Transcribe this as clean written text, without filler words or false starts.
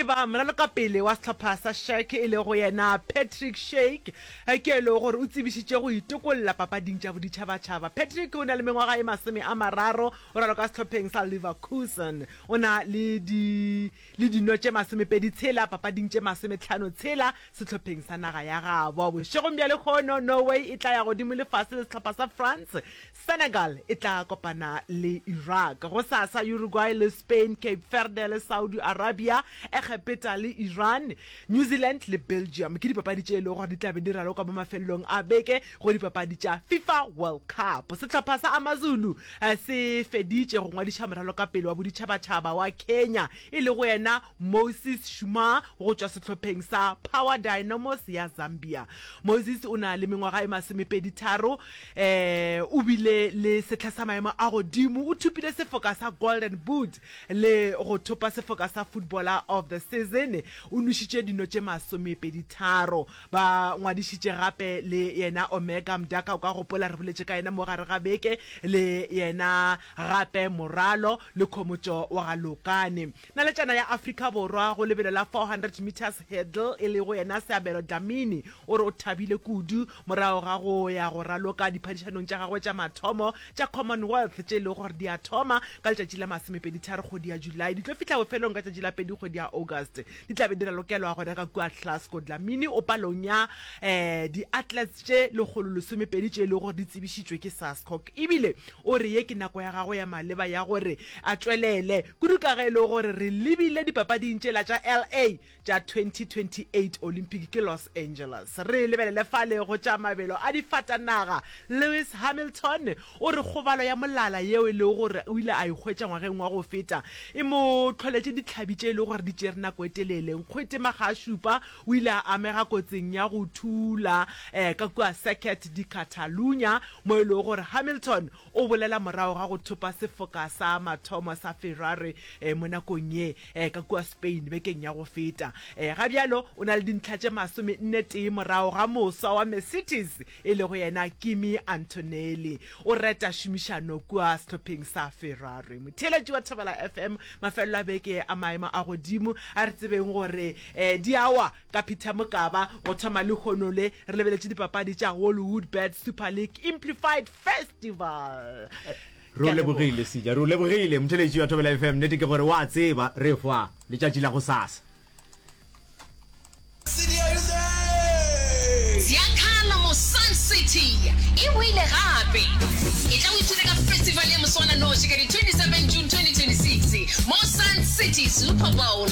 tseba, moralokapele wa sehlopha sa Schalke e lego yena Patrick Schick ke e lego gore o tsebišitše go itokolla papading tša boditšhabatšhaba. Patrick o na le mengwaga e 30, o raloka sehlopheng sa Leverkusen. O na le di le dino tše masomepedi tshela papading tše masometlhano tshela sehlopheng sa naga ya gabo. Bošegong bja lehono Norway e tla ya godimo le fase le sehlopha sa France. Senegal e tla kopana le Iraq. Gosasa Uruguay le Spain, Cape Verde le Saudi Arabia, Egepeta le Iran, New Zealand le Belgium ke dipapadi tše e lego gore di tla be di raloka mo mafelelong a beke go dipapadi tša FIFA World Cup. Sehlopha sa AmaZulu se feditše go ngwadiša moralokapele wa boditšhabatšhaba wa Kenya e lego yena Moses Shuma go tšwa sehlopheng sa Power Dynamos ya Zambia. Moses o na le mengwaga e masomepeditharo E, o bile le sehla sa maemo a godimo, o thopile sefoka sa Golden Boot le go thopa sefoka sa Footballer of the Season. O nwešitše dino tše masomepeditharo. Ba ngwadišitše gape le yena Omega Mdaka, o ka gopola re boletše ka yena mo gare ga beke, le yena gape Moralo le Khomotšo wa ga Lokane. Naletšana ya Afrika Borwa go lebelo la 400 metres hurdle e lego yena Seabelo Dlamini o re o thabile kudu morago ga go ya go raloka diphadišanong tša gagwe tša mathomo tša Commonwealth tše e lego gore di a thoma ka letšatši la masomepeditharo kgwedi ya July di tlo fihla bofelong ka tšatši la pedi kgwedi ya August di tla be di ralokelwa gona ka kua Glasgow. Dlamini o palong ya di-athletes tše lekgololesomepedi tše e lego gore di tsebišitšwe ke SASCOC ebile O re ye ke nako ya gagwe ya maleba ya gore a tšwelele, kudu ka ge e le gore re lebile dipapading tšela tša LA tša 2028 Olympic ke Los Angeles. Re lebelele fale go tša mabelo a difatanaga, Lewis Hamilton o re kgobalo ya molala yeo e lego gore o ile a e hwetša ngwageng wa go feta e mo hloletše dihlabi tše e lego gore di tšere nako e telele. Nkgwete makga a šupa o ile a amega kotsing ya go thula ka kua Circuit de Catalunya mo e lego gore Hamilton o bolela morago ga go thopa sefoka sa mathomo sa Ferrari mo nakong ye ka kua Spain bekeng ya go feta. Ga bjalo o na le dintlha tše masomenne tee morago ga moswa wa Mercedes e lego yena Kimi Antonelli. O reta šomišano kua sehlopheng sa Ferrari. Motheeletši wa Thobela FM, mafelelo a beke a maemo a godimo a re tsebeng gore di a wa Ka Peter Mokaba go thoma lehono le re lebeletše dipapadi tša Hollywoodbets Super League Implified Festival. Re o lebogile Sija, re o lebogile motheletši wa Thobela FM. Nnete ke gore wa tseba re fa letšatši la gosasa. Ziakhala mo Sun City e boile gape! Etla o ipshine ka festival ya moswananoši ka di 27 June 2026 mo Sun City Super Bowl.